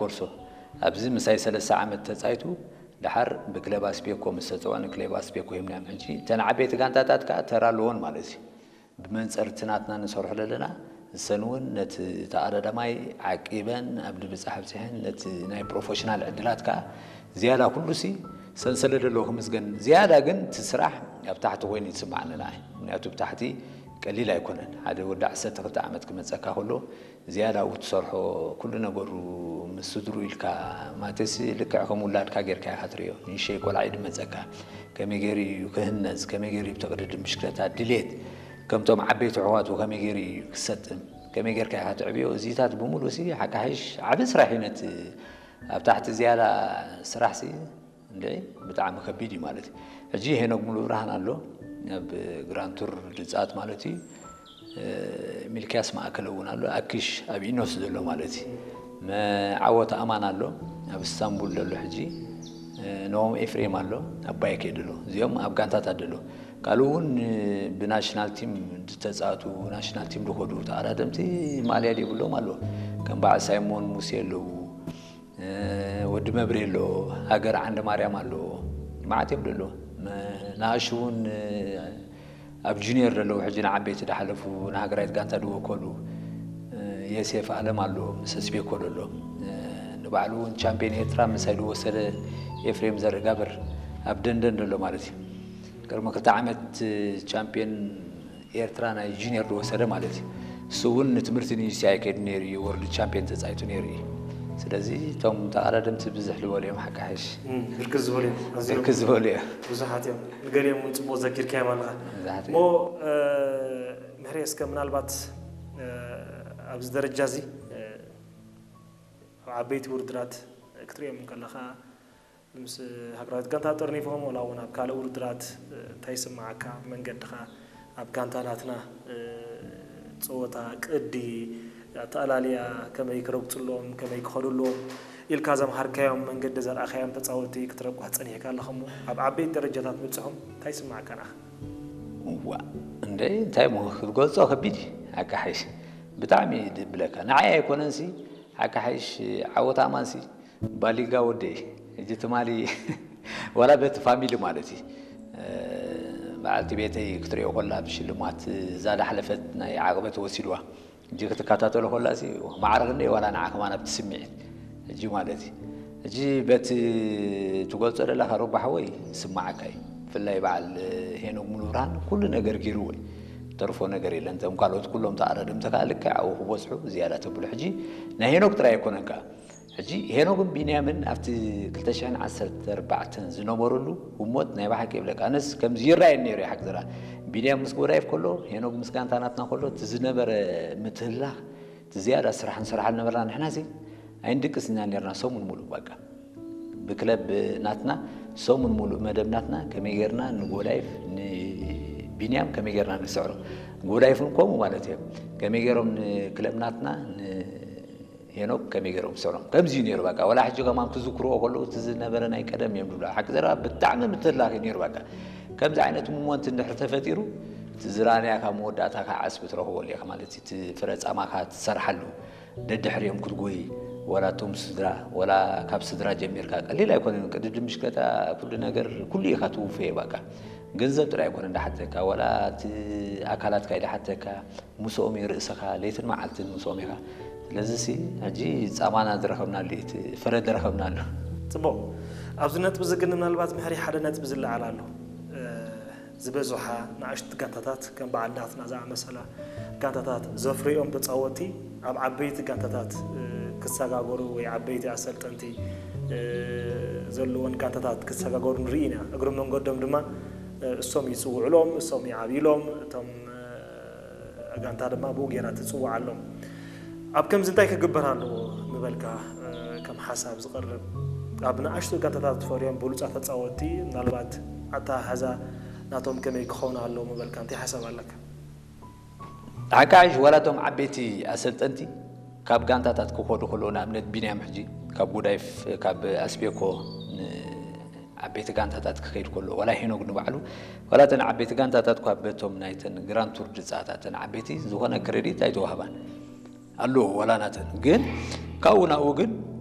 ኮርሶ ኣብዚ ምሳይ ሰለስተ ዓመት ተጻይቱ፣ ድሓር ብክለብ ኣስቤኮ ምስ ተጸውዐ፣ ንክለብ ኣስቤኮ ሂብናዮም። ሕጂ እተን ዓበይቲ ጋንታታት ከኣ ተራ ኣለዎን ማለት እዩ። ብመንጽር እቲ ናትና ንሰርሖ ዘለና፣ እሰን እውን ነቲ ተቐዳዳማይ ዓቂበን ኣብ ድብጻሕ ኣብጺሐን፣ ነቲ ናይ ፕሮፌሽናል ዕድላት ከኣ ዝያዳ ኩሉሲ ሰንሰለት ዘለዎ ክምስገን። ዝያዳ ግን እቲ ስራሕ ኣብ ታሕቲ ኮይኑ ይስማዓኒ ንዓይ። ምክንያቱ ኣብ ታሕቲ ቀሊል ኣይኮነን። ሓደ ወዲ ዓሰርተ ክልተ ዓመት ክመጸካ ከሎ ዝያዳ ኣብኡ ትሰርሖ፣ ኩሉ ነገሩ ምስ ስድሩ ኢልካ፣ ማለትሲ ልክዕ ከም ውላድካ ጌርካ ኢኻ ትርእዮ። ንእሽተይ ቆልዓ እዩ ድመጸካ። ከመይ ገይሩ እዩ ክህነጽ፣ ከመይ ገይሩ እዩ ብተቕድድም ብሽክለታ ድሌት፣ ከምቶም ዓበይቲ ኣሕዋቱ ከመይ ገይሩ እዩ ክሰጥም፣ ከመይ ጌርካ ኢኻ ትዕብዮ፣ እዚታት ብምሉእሲ ሓካሒሽ ዓቢ ስራሕ እዩ። ነቲ ኣብ ታሕቲ ዝያዳ ስራሕሲ እንድዒ ብጣዕሚ ከቢድ እዩ ማለት እዩ። ሕጂ ሄኖክ ሙሉብርሃን ኣሎ ኣብ ግራንድ ቱር ድጻት ማለት እዩ። እ፣ ሚልክያስ ማእከለ እውን ኣሎ፣ ኣኪሽ ኣብ ኢኖስ ዘሎ ማለት እዩ። መ-፣ ዓወት ኣማን ኣሎ ኣብ እስታንቡል ዘሎ ሕጂ። እ፣ ነዎም ኤፍሬም ኣሎ ኣብ ባይኬ ዘሎ። እዚኦም ኣብ ጋንታታት ዘሎ። ካልእ እውን፣ እ፣ ብናሽናል ቲም ዝተጻወቱ፣ ናሽናል ቲም ዝኸዱ ተቐዳደምቲ ማልያ ዘይብሎም ኣለዉ። ከም በዓል ሳይሞን ሙሴ ኣለዉ። እ፣ ወዲ መብሬ ኣሎ፣ ሃገር ዓንደ ማርያም ኣሎ፣ መዓት እዮም ደሎ። መ-፣ ንኣሹ እውን፣ እ፣ ኣብ ጁኒየር ደለዉ፣ ሕጂ ንዓበይቲ ዝሓለፉ፣ ንሃገራዊት ጋንታ ዝወከሉ፣ እ፣ የሴፍ ኣለም ኣሎ፣ ምስ ኣስቤኮ ደሎ። እ፣ ንባዕሉ እውን ቻምፒዮን ኤርትራ ምሳይ ዝወሰደ ኤፍሬም ዘርእጋብር ኣብ ደንደን ደሎ ማለት እዩ። ቅድሚ ክልተ ዓመት ቻምፒዮን ኤርትራ ናይ ጁኒየር ዝወሰደ ማለት እዩ። እሱ እውን ንትምህርቲ ንዩሲኣይ ከይዱ ነይሩ እዩ፣ ወርልድ ቻምፒዮን ተጻይቱ ነይሩ እዩ። ስለዚ እቶም ተቐዳደምቲ ብዝሕ ዝበሉ እዮም ሓካሕሽ። እም፣ ብርክት ዝበሉ እዮም፣ ኣዝዮም ብርክት ዝበሉ እዮም። ብዙሓት እዮም። ንገሊኦም እውን ጽቡቕ ዘኪርካዮም ኣለኻ። ብዙሓት እሞ፣ እዮም። እ፣ ምሕሬ፣ እስከ ምናልባት፣ እ፣ ኣብዚ ደረጃ እዚ፣ እ፣ ኣብ ዓበይቲ ውድድራት ክትሪኦም ከለኻ፣ ምስ ሃገራዊት ጋንታ ጠርኒፎም፣ ወላ እውን ኣብ ካልእ ውድድራት፣ እ፣ እንታይ ይስምዓካ? መንገድኻ ኣብ ጋንታ ናትና፣ እ፣ ጸወታ፣ ቅዲ፣ ኣተኣላልያ ከመይ ክረግጹሎም፣ ከመይ ክኸዱሎም ኢልካ ዘምሃርካዮም፣ መንገዲ ዘርኣኻዮም ተጻወትቲ ክትረቋሕ ጸኒሕካ ኣለኻ እሞ፣ ኣብ ዓበይቲ ደረጃታት ምብጽሖም እንታይ ይስምዓካ ንዓኻ? እዋ፣ እንደ እንታይ እሞ ክትገልጾ ከቢድ እዩ። ሓቂ ሓይሽ ብጣዕሚ እዩ ድብለካ። ንዓይ ኣይኮነንሲ፣ ሓቂ ሓይሽ ዓወት ኣማንሲ፣ ባሊጋ ወደይ፣ ሕጂ ትማሊ ዋላ በቲ ፋሚሊ ማለት እዩ። እ፣ በዓልቲ ቤተይ ክትሪኦ ከላ ብሽልማት እዛ ዳሕለፈት ናይ ዓቕበት ወሲድዋ። ሕጂ ክትከታተሎ ከላሲ ማዕረ ክንደይ ዋላ ንዓ ከማን ኣብቲ ስምዒት። ሕጂ ማለት እዩ። ሕጂ በቲ ትገልጾ ዘለኻ ሮባ ሓወይ ይስምዓካ እዩ። ብፍላይ በዓል ሄኖክ ሙሉብርሃን ኩሉ ነገር ገይርዎ እዩ። ተርፎ ነገር የለን። እቶም ካልኦት ኩሎም ተኣረድምቲ ከኣ ልክዕ ኣብኡ ክበጽሑ ዝያዳ ተብሎ። ሕጂ ናይ ሄኖክ ጥራይ ኣይኮነን ከኣ። ሕጂ ሄኖክን ቢንያምን ኣብቲ ክልተ ሽሕን ዓሰርተ ኣርባዕተን ዝነበሩሉ ህሞት ናይ ብሓቂ ይብለካ። ኣነስ ከምዚ ይረኣየኒ ነይሩ እዩ ሓቂ ዘረባ። ቢንያም ምስ ጎዳይፍ ከሎ፣ ሄኖክ ምስ ጋንታ ናትና ከሎ፣ እቲ ዝነበረ ምትህልላኽ፣ እቲ ዝያዳ ስራሕ ንሰርሓሉ ነበርና። ንሕናሲ ኣይንድቅስን ኢና ነርና ሰሙን ሙሉእ በቃ። ብክለብ ናትና ሰሙን ሙሉእ መደብ ናትና ከመይ ጌርና ንጎዳይፍ፣ ንቢንያም ከመይ ጌርና ንስዕሮ። ጎዳይፍ እውን ከምኡ ማለት እዮም። ከመይ ጌሮም ንክለብ ናትና፣ ን ሄኖክ ከመይ ገይሮም ዝስዕሮም? ከምዚ እዩ ነይሩ በቃ። ወላ ሕጂ ከማን ክዝክርዎ ከለዉ እቲ ዝነበረ ናይ ቀደም እዮም ዝብሉ። ሓቂ ዘረባ ብጣዕሚ ምትላኽ እዩ ነይሩ በቃ። ከምዚ ዓይነት ሞመንት እንድሕር ተፈጢሩ፣ እቲ ዝረኣናዮ ካብ መወዳእታ ከዓ ዓስቢ ትረኽበሉ ኢኻ ማለት እዩ። እቲ ፍረ ጻማኻ ትሰርሓሉ፣ ደድሕሪኦም ክትጎይ፣ ወላ እቶም ስድራ፣ ወላ ካብ ስድራ ጀሚርካ፣ ቀሊል ኣይኮነን። ቅድድም ብሽክለታ ኩሉ ነገር፣ ኩሉ ኢኻ ትውፈዮ በቃ። ገንዘብ ጥራይ ኣይኮነን ዝሓተካ፣ ወላ እቲ ኣካላትካ እዩ ዝሓተካ። ምስኦም እዩ ርእስኻ፣ ለይትን መዓልትን ምስኦም ኢኻ። ስለዚሲ፣ ሕጂ ጻማና ዝረኸብናሉ እዩ፣ እቲ ፍረ ዝረኸብናሉ። ጽቡቕ። ኣብዚ ነጥቢ እዚ ግን ምናልባት ምሕሪ ሓደ ነጥቢ ዝለዓል ኣሎ። እ፣ ዝበዝሓ ንኣሽቱ ጋንታታት ከም በዓል ናትና ዝኣመሰላ ጋንታታት ዘፍርዮም ተጻወትቲ ኣብ ዓበይቲ ጋንታታት፣ እ፣ ክሰጋገሩ ወይ ዓበይቲ ኣሰልጠንቲ፣ እ፣ ዘለወን ጋንታታት ክሰጋገሩ ንርኢ ኢና። እግሪ መንገዶም ድማ፣ እ፣ እሶም ይጽውዕሎም፣ እሶም ይዓብይሎም፣ እቶም፣ እ፣ ጋንታ ድማ ብኡ ጌራ ትጽውዓሎም። ኣብ ከምዚ እንታይ ክግበር ኣለዎ ምበልካ፣ እ፣ ከም ሓሳብ ዝቐርብ? ኣብ ንኣሽቱ ጋንታታት ዝፈርዮም ብሉጻት ተጻወትቲ ምናልባት ኣተሓሕዛ ናቶም ከመይ ክኸውን ኣለዎ ምበልካ እንታይ ሓሳብ ኣለካ? ሓቃይሽ ዋላ እቶም ዓበይቲ ኣሰልጠንቲ ካብ ጋንታታት ክኸዱ ከለዉ፣ ንኣብነት ቢንያም ሕጂ ካብ ጉዳይፍ፣ ካብ ኣስቤኮ ን-፣ ዓበይቲ ጋንታታት ክኸይድ ከሎ፣ ዋላ ሄኖክ ንባዕሉ፣ ዋላ እተን ዓበይቲ ጋንታታት እኳ በቶም ናይተን ግራንድ ቱር ድጻታት እተን ዓበይቲ ዝኾነ ክሬዲት ኣይተዋህባን። ኣለዎ ዋላ ናተን። ግን ካብኡ ናብኡ ግን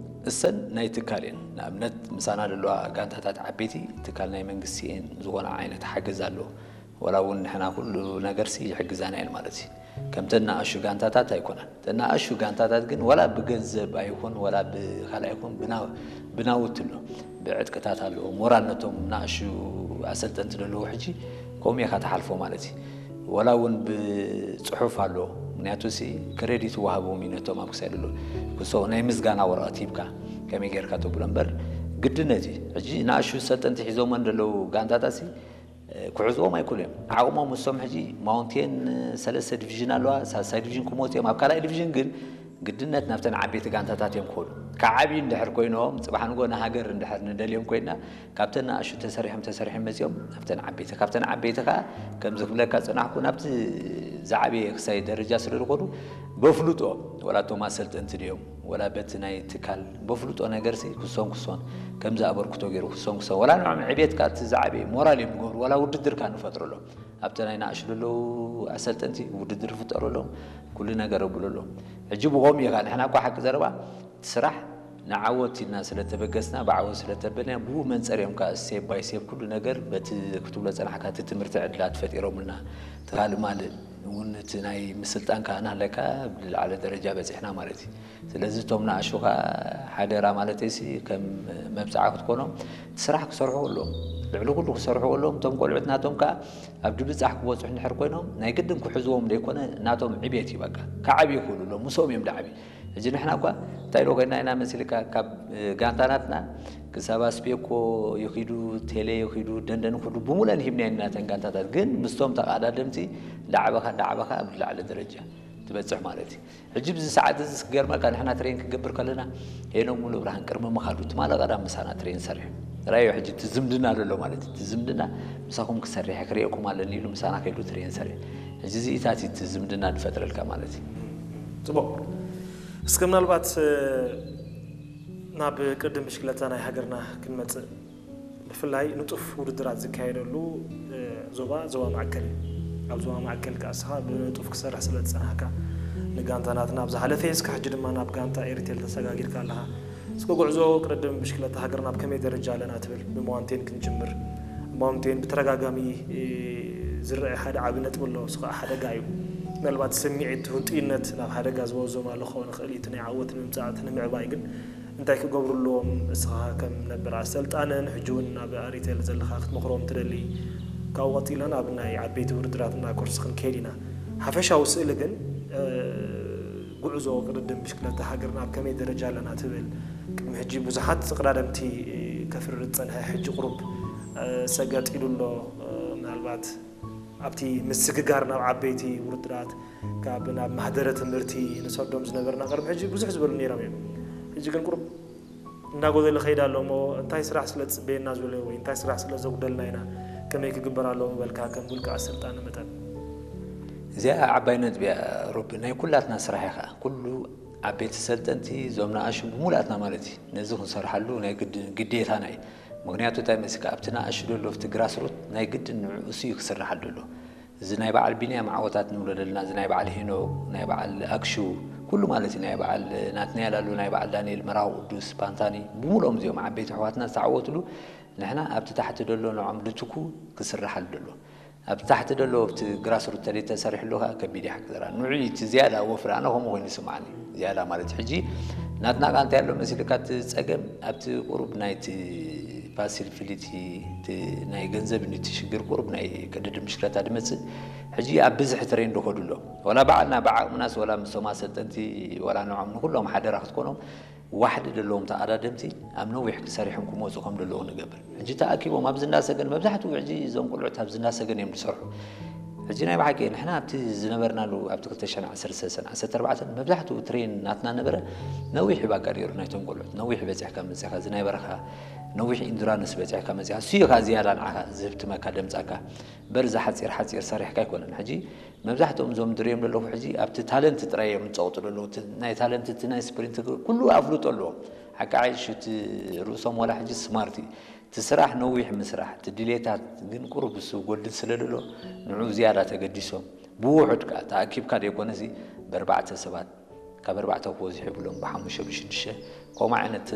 እሰን ናይ ትካል እየን። ንኣብነት ምሳና ዘለዋ ጋንታታት ዓበይቲ ትካል ናይ መንግስቲ እየን፣ ዝኾነ ዓይነት ሓገዝ ኣለዎ። ወላ እውን ንሕና ኩሉ ነገርሲ ይሕግዛና እየን ማለት እዩ። ከምተን ንኣሹ ጋንታታት ኣይኮናን። እተን ንኣሹ ጋንታታት ግን ወላ ብገንዘብ ኣይኹን ወላ ብካልእ ኣይኹን ብና- ብናውቲ ኣሎ፣ ብዕጥቅታት ኣለዎ። ሞራል ነቶም ንኣሹ ኣሰልጠንቲ ዘለዉ ሕጂ ከምኡ ኢኻ ትሓልፎ ማለት እዩ። ወላ እውን ብፅሑፍ ኣሎ። ምክንያቱ ሲ ክሬዲት ይወሃቦም እዩ ነቶም ኣብ ክሳይ ዘሎ ክሶ ናይ ምስጋና ወረቐት ሂብካ ከመይ ጌርካ ተብሎ እምበር ግድነት እዩ። ሕጂ ንኣሹ ሰልጠንቲ ሒዞመን ዘለዉ ጋንታታት ሲ ክሕዝዎም ኣይክእሉ እዮም። ዓቕሞም እሶም ሕጂ ማውንቴን ሰለስተ ዲቪዥን ኣለዋ፣ ሳልሳይ ዲቪዥን ክመፁ እዮም። ኣብ ካልኣይ ዲቪዥን ግን ግድነት ናብተን ዓበይቲ ጋንታታት እዮም ክኸዱ። ክዓብዩ እንድሕር ኮይኖም፣ ፅባሕ ንጎ ንሃገር እንድሕር ንደልዮም ኮይና፣ ካብተን ንኣሹ ተሰሪሖም ተሰሪሖም መፂኦም ናብተን ዓበይቲ፣ ካብተን ዓበይቲ ከዓ ከምዚ ክብለካ ዝፀናሕኩ ናብቲ ዝዓበየ ክሳይ ደረጃ ስለ ዝኾኑ በፍልጦ ወላ እቶም ኣሰልጠንቲ ድዮም ወላ በቲ ናይ ትካል በፍልጦ ነገርሲ ክሶን ክሶን ከምዚ ኣበርክቶ ገይሩ ክሶን ክሶን ወላ ንዕም ዕቤትካ እቲ ዝዓበየ ሞራል እዮም ዝገብሩ ወላ ውድድርካ ንፈጥረሎም ኣብቲ ናይ ንኣሽቱ ዘለዉ ኣሰልጠንቲ ውድድር ፍጠረሎም ኩሉ ነገር ኣብለሎም። ሕጂ ብኸምኡ ኢኻ ንሕና እኳ ሓቂ ዘረባ እቲ ስራሕ ንዓወት ኢልና ስለተበገስና ብዓወት ስለተበልና ብኡ መንፀር እዮም ከዓ ሴብ ባይ ሴብ ኩሉ ነገር በቲ ክትብሎ ፀናሕካ እቲ ትምህርቲ ዕድላት ፈጢሮምልና ትካል ማልእ እውን እቲ ናይ ምስልጣን ከዓ ናህለካ ብዝለዓለ ደረጃ በፂሕና ማለት እዩ። ስለዚ እቶም ንኣሽቱ ከዓ ሓደራ ማለተይሲ ከም መብፅዓ ክትኮኖም እቲ ስራሕ ክሰርሑ ኣለዎም። ልዕሊ ኩሉ ክሰርሑ ኣለዎም። እቶም ቆልዑት ናቶም ከዓ ኣብ ድብፃሕ ክበፅሑ እንድሕር ኮይኖም ናይ ግድን ክሕዝዎም ዘይኮነ ናቶም ዕቤት እዩ። በቃ ክዓብዩ ይኽእሉ ኣለዎም። ምስኦም እዮም ድዓብዩ። ሕጂ ንሕና እኳ እንታይ ኢሎ ኮይና ኢና መሲልካ ካብ ጋንታ ናትና ክሳብ ኣስቤኮ ይኺዱ፣ ቴሌ ይኺዱ፣ ደንደን ይኺዱ፣ ብምሉአን ሂብና ኢና ነተን ጋንታታት። ግን ምስቶም ተቐዳደምቲ እንዳዓበኻ እንዳዓበኻ ኣብ ዝለዓለ ደረጃ ትበፅሕ ማለት እዩ። ሕጂ ብዚ ሰዓት እዚ ክገርመካ ንሕና ትሬን ክገብር ከለና ሄኖም ሙሉ ብርሃን ቅድሚ ምኻዱ ትማሊ ቀዳም ምሳና ትሬን ሰሪሑ ራዮ። ሕጂ እቲ ዝምድና ዘሎ ማለት እዩ። እቲ ዝምድና ምሳኹም ክሰርሕ ክርእየኩም ኣለኒ ኢሉ ምሳና ከይዱ ትሬን ሰሪሑ። ሕጂ እዚኢታት እቲ ዝምድና ዝፈጥረልካ ማለት እዩ። ፅቡቅ። እስከ ምናልባት ናብ ቅድም ብሽክለታ ናይ ሃገርና ክንመፅእ ብፍላይ ንጡፍ ውድድራት ዝካየደሉ ዞባ ዞባ ማእከል እዩ። ኣብ ዞባ ማእከል ከዓ እስኻ ብንጡፍ ክሰርሕ ስለ ዝፀናሕካ ንጋንታ ናትና ኣብ ዝሓለፈ እስካ ሕጂ ድማ ናብ ጋንታ ኤሪቴል ተሰጋጊርካ ኣለኻ። እስከ ጉዕዞ ቅድድም ብሽክለታ ሃገርና ኣብ ከመይ ደረጃ ኣለና ትብል? ብማውንቴን ክንጅምር። ማውንቴን ብተደጋጋሚ ዝረአ ሓደ ዓቢ ነጥቢ ኣሎ። እሱ ከዓ ሓደጋ እዩ። ምናልባት ስምዒት ህንጡይነት ናብ ሓደጋ ዝወዞም ኣሎ ክኸውን ይኽእል እዩ። እቲ ናይ ዓወት ንምምፃእ እቲ ንምዕባይ ግን እንታይ ክገብሩ ኣለዎም? እስኻ ከም ነበር ኣሰልጣንን ሕጂ እውን ናብ ኣሪቴል ዘለኻ ክትመኽሮም ትደሊ? ካብኡ ቀፂልና ናብ ናይ ዓበይቲ ውድድራትና ኮርስ ክንከይድ ኢና። ሓፈሻዊ ስእሊ ግን ጉዕዞ ቅድድም ብሽክለታ ሃገርና ኣብ ከመይ ደረጃ ኣለና ትብል? ቅድሚ ሕጂ ብዙሓት ተቐዳደምቲ ከፍርር ዝፀንሐ ሕጂ ቁሩብ ሰገጥ ኢሉ ኣሎ። ምናልባት ኣብቲ ምስግጋር ናብ ዓበይቲ ውድድራት ካብ ናብ ማህደረ ትምህርቲ ንሰዶም ዝነበርና ቅድሚ ሕጂ ብዙሕ ዝበሉ ነይሮም እዮም። ሕጂ ግን ቁሩብ እናጎደለ ከይድ ኣሎ እሞ እንታይ ስራሕ ስለ ዝፅበየና ዝበለ ወይ እንታይ ስራሕ ስለ ዘጉደልና ኢና ከመይ ክግበር ኣለዎ ምበልካ ከም ውልቀ ኣሰልጣኒ መጠን? እዚኣ ዓባይ ነጥቢ እያ ሮቢ፣ ናይ ኩላትና ስራሕ እያ ከዓ። ኩሉ ዓበይቲ ሰልጠንቲ እዞም ንኣሽቱ ብሙላትና ማለት እዩ ነዚ ክንሰርሓሉ ናይ ግድን ግዴታና እዩ። ምክንያቱ እንታይ መስልካ ኣብቲ ንኣሽቱ ዘሎ ኣብቲ ግራስሩት ናይ ግድን ንዕኡ እሱ እዩ ክስርሓሉ ዘሎ። እዚ ናይ በዓል ቢንያም ዓወታት ንብሎ ዘለና፣ እዚ ናይ በዓል ሄኖክ፣ ናይ በዓል ኣክሹ፣ ኩሉ ማለት እዩ፣ ናይ በዓል ናትናኤል ኣሎ፣ ናይ በዓል ዳንኤል መራዊ ቅዱስ፣ ፓንታኒ፣ ብምልኦም እዚኦም ዓበይቲ ኣሕዋትና ዝተዓወትሉ፣ ንሕና ኣብቲ ታሕቲ ደሎ ንዖም ድትኩ ክስርሓሉ ደሎ። ኣብቲ ታሕቲ ደሎ ኣብቲ ግራስሩት ተደይ ተሰሪሕሉ ከዓ ከቢድ እዩ ሓቂ ዘረባ። ንዑ እዩ እቲ ዝያዳ ወፍሪ፣ ኣነ ከምኡ ኮይኑ ይስምዓኒ። ዝያዳ ማለት ሕጂ ናትና ቃ እንታይ ኣሎ መሲልካ እቲ ፀገም ኣብቲ ቁሩብ ናይቲ ፋሲሊቲ ናይ ገንዘብ ንቲ ሽግር ቁሩብ ናይ ቅድድም ብሽክለታ ድመፅእ ሕጂ ኣብ ብዝሒ ትሬን ዶ ከዱ ኣሎ ወላ ባዕልና ብዓቕምናስ ወላ ምስቶም ኣሰልጠንቲ ወላ ንዖም ንኩሎም ሓደራ ክትኮኖም ዋሕዲ ዘለዎም ተቐዳደምቲ ኣብ ነዊሕ ክሰሪሖም ክመፁ ከም ዘለዉ ንገብር። ሕጂ ተኣኪቦም ኣብዚ እንዳሰገን መብዛሕትኡ ሕጂ እዞም ቆልዑት ኣብዚ እንዳሰገን እዮም ዝሰርሑ። ሕጂ ናይ ብሓቂ ንሕና ኣብቲ ዝነበርናሉ ኣብቲ ክልተ ሽሕን ዓሰርተ ሰለስተን ዓሰርተ ኣርባዕተን መብዛሕትኡ ትሬን ናትና ነበረ ነዊሕ ይባካ ነይሩ ናይቶም ቆልዑት ነዊሕ በፂሕካ መፂኻ እዚ ናይ በረኻ ነዊሕ ኢንዱራንስ በፂሕካ መፂኻ እሱ እዩ ከዓ ዝያዳ ንዓኻ ዝህብትመካ ደምፃካ በርዚ ሓፂር ሓፂር ሰሪሕካ ኣይኮነን ሕጂ መብዛሕትኦም እዞም ድሪኦም ዘለኹ ሕጂ ኣብቲ ታለንት ጥራይ እዮም ዝፀቕጡ ዘለዉ ናይ ታለንት እቲ ናይ ስፕሪንት ኩሉ ኣፍልጦ ኣለዎም ሓቂ ዓይሽ እቲ ርእሶም ዋላ ሕጂ ስማርት እዩ እቲ ስራሕ ነዊሕ ምስራሕ እቲ ድሌታት ግን ቁሩብ እሱ ጎድል ስለ ደሎ ንዑ ዝያዳ ተገዲሶም ብውሑድ ከዓ ተኣኪብካ ደይኮነሲ በርባዕተ ሰባት ካብ ኣርባዕተ ክበዝሑ ይብሎም ብሓሙሽተ ብሽዱሽተ ከምኡ ዓይነት